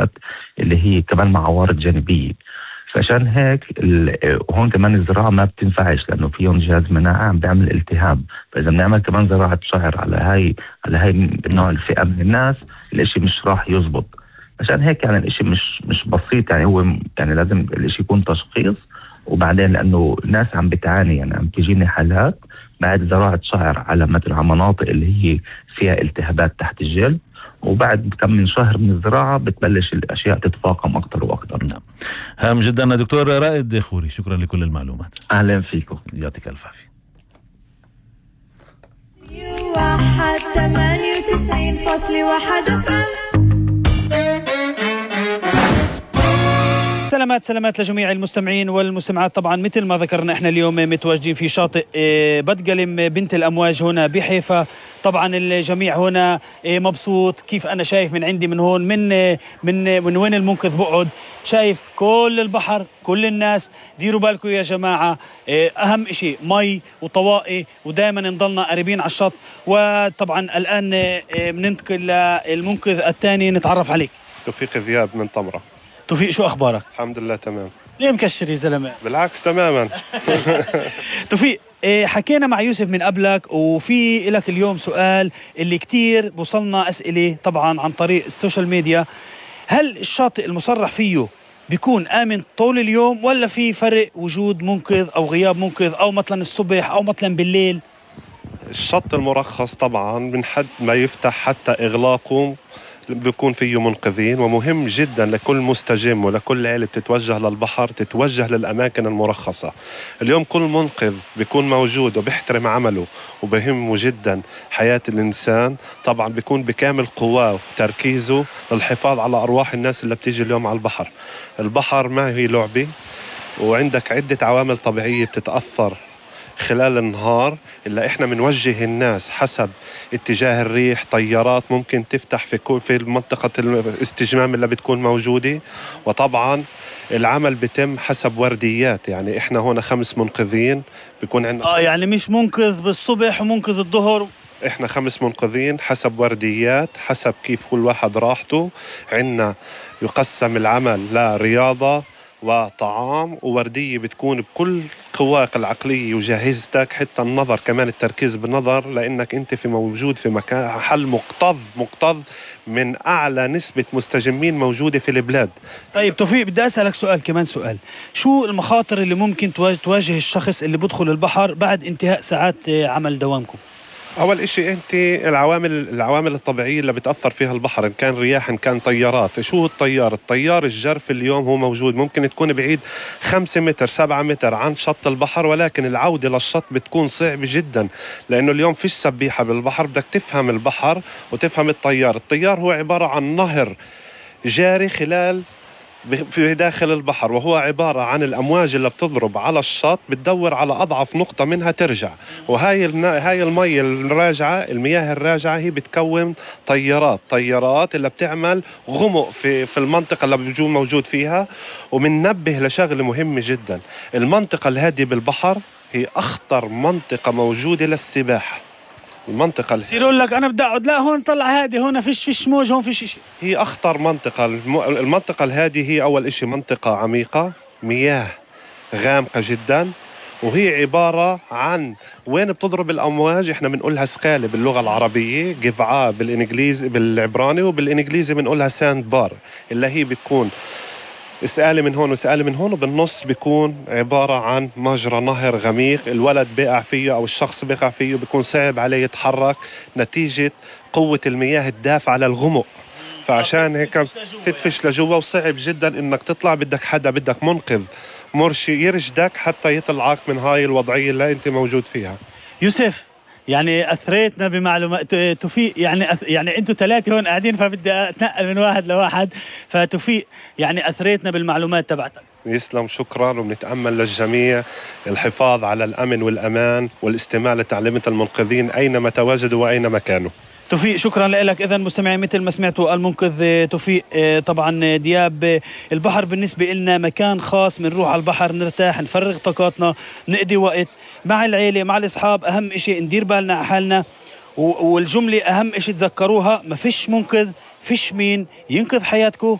منتجات اللي هي كمان مع عوارض جانبية. فعشان هيك هون كمان الزراعة ما بتنفعش لأنه فيهم جهاز مناعة عم بيعمل التهاب. فإذا بنعمل كمان زراعة شعر على هاي النوع الفئة من الناس الاشي مش راح يزبط. عشان هيك يعني الاشي مش بسيط، يعني هو يعني لازم الاشي يكون تشخيص، وبعدين لأنه الناس عم بتعاني، يعني عم تجيني حالات بعد زراعة شعر على مثل مناطق اللي هي فيها التهابات تحت الجلد، وبعد كم من شهر من الزراعة بتبلش الأشياء تتفاقم أكتر وأكتر. نعم، هام جدا دكتور رائد خوري، شكرا لكل المعلومات. أهلا فيكم، يعطيك ألف عافية. 98.1 سلامات لجميع المستمعين والمستمعات. طبعا مثل ما ذكرنا احنا اليوم متواجدين في شاطئ بتقلم بنت الأمواج هنا بحيفا. طبعا الجميع هنا مبسوط. كيف أنا شايف من عندي من هون من وين المنقذ بقعد، شايف كل البحر، كل الناس. ديروا بالكم يا جماعة، أهم إشي مي وطوائي، ودائما نضلنا قريبين على الشط. وطبعا الآن بننتقل للمنقذ الثاني، نتعرف عليك. توفيق ذياب من طمرة. توفيق، شو أخبارك؟ الحمد لله تمام. ليه مكشر يا زلمة؟ بالعكس تماما. توفيق، حكينا مع يوسف من قبلك، وفي لك اليوم سؤال اللي كتير بوصلنا أسئلة طبعا عن طريق السوشيال ميديا. هل الشاطئ المصرح فيه بيكون آمن طول اليوم، ولا في فرق وجود منقذ أو غياب منقذ، أو مثلا الصبح أو مثلا بالليل؟ الشط المرخص طبعا من حد ما يفتح حتى إغلاقه بيكون فيه منقذين، ومهم جدا لكل مستجم ولكل عائلة بتتوجه للبحر تتوجه للأماكن المرخصة. اليوم كل منقذ بيكون موجود وبيحترم عمله وبهمه جدا حياة الإنسان، طبعا بيكون بكامل قواه وتركيزه للحفاظ على أرواح الناس اللي بتيجي اليوم على البحر. البحر ما هي لعبة، وعندك عدة عوامل طبيعية بتتأثر خلال النهار، إلا إحنا منوجه الناس حسب اتجاه الريح. طيارات ممكن تفتح في منطقة الاستجمام اللي بتكون موجودة، وطبعا العمل بيتم حسب ورديات. يعني إحنا هنا 5 منقذين بيكون عندنا يعني مش منقذ بالصبح ومنقذ الظهر، إحنا 5 منقذين حسب ورديات، حسب كيف كل واحد راحته. عندنا يقسم العمل لرياضة وطعام ووردية بتكون بكل قواك العقلية وجاهزتك، حتى النظر كمان، التركيز بالنظر، لأنك أنت في موجود في مكان حل مكتظ من أعلى نسبة مستجمين موجودة في البلاد. طيب توفيق، بدي أسألك كمان سؤال. شو المخاطر اللي ممكن تواجه الشخص اللي بدخل البحر بعد انتهاء ساعات عمل دوامكم؟ أول إشي أنت العوامل الطبيعية اللي بتأثر فيها البحر، إن كان رياح إن كان طيارات. شو الطيار الجرف اليوم هو موجود، ممكن تكون بعيد 5 متر 7 متر عن شط البحر، ولكن العودة للشط بتكون صعبة جدا، لأنه اليوم فيش سبيحة بالبحر. بدك تفهم البحر وتفهم الطيار هو عبارة عن نهر جاري في داخل البحر، وهو عبارة عن الأمواج اللي بتضرب على الشط بتدور على أضعف نقطة منها ترجع. وهاي المية المياه الراجعة هي بتكون طيارات اللي بتعمل غمق في المنطقة اللي بيجون موجود فيها. ومننبه لشغلة مهمة جدا، المنطقة الهادية بالبحر هي أخطر منطقة موجودة للسباحة. المنطقة يقول لك أنا بدي أقعد، لا هون طلع هادي، هون فيش موج، هون فيش إشي. هي أخطر منطقة. المنطقة الهادية هي أول إشي منطقة عميقة، مياه غامقة جدا، وهي عبارة عن وين بتضرب الأمواج. إحنا بنقولها سقالة باللغة العربية، قفعاء بالإنجليزي بالعبراني، وبالإنجليزي بنقولها ساند بار، اللي هي بتكون سقالة من هون وسقالة من هون، وبالنص بيكون عبارة عن مجرى نهر غميق. الولد بيقع فيه أو الشخص بيقع فيه بيكون صعب عليه يتحرك نتيجة قوة المياه الدافعة على الغمق. فعشان هيك تدفش لجوا، وصعب جدا إنك تطلع. بدك منقذ مرشي يرشدك حتى يطلعك من هاي الوضعية اللي أنت موجود فيها. يوسف، يعني أثريتنا بمعلومات. توفيق، يعني أنتوا 3 هون قاعدين، فبدي أتنقل من واحد لواحد. فتوفيق، يعني أثريتنا بالمعلومات تبعتك. يسلم، شكرا. وبنتأمل للجميع الحفاظ على الأمن والأمان والاستماع لتعليمات المنقذين أينما تواجدوا وأينما كانوا. توفيق، شكرا لك. إذن مستمعين، مثل ما سمعتوا المنقذ توفيق طبعا دياب، البحر بالنسبة لنا مكان خاص. بنروح على البحر نرتاح، نفرغ طاقاتنا، نقضي وقت مع العيلة مع الأصحاب. أهم إشي ندير بالنا على حالنا، والجملة أهم إشي تذكروها: ما فيش منقذ، فيش مين ينقذ حياتكم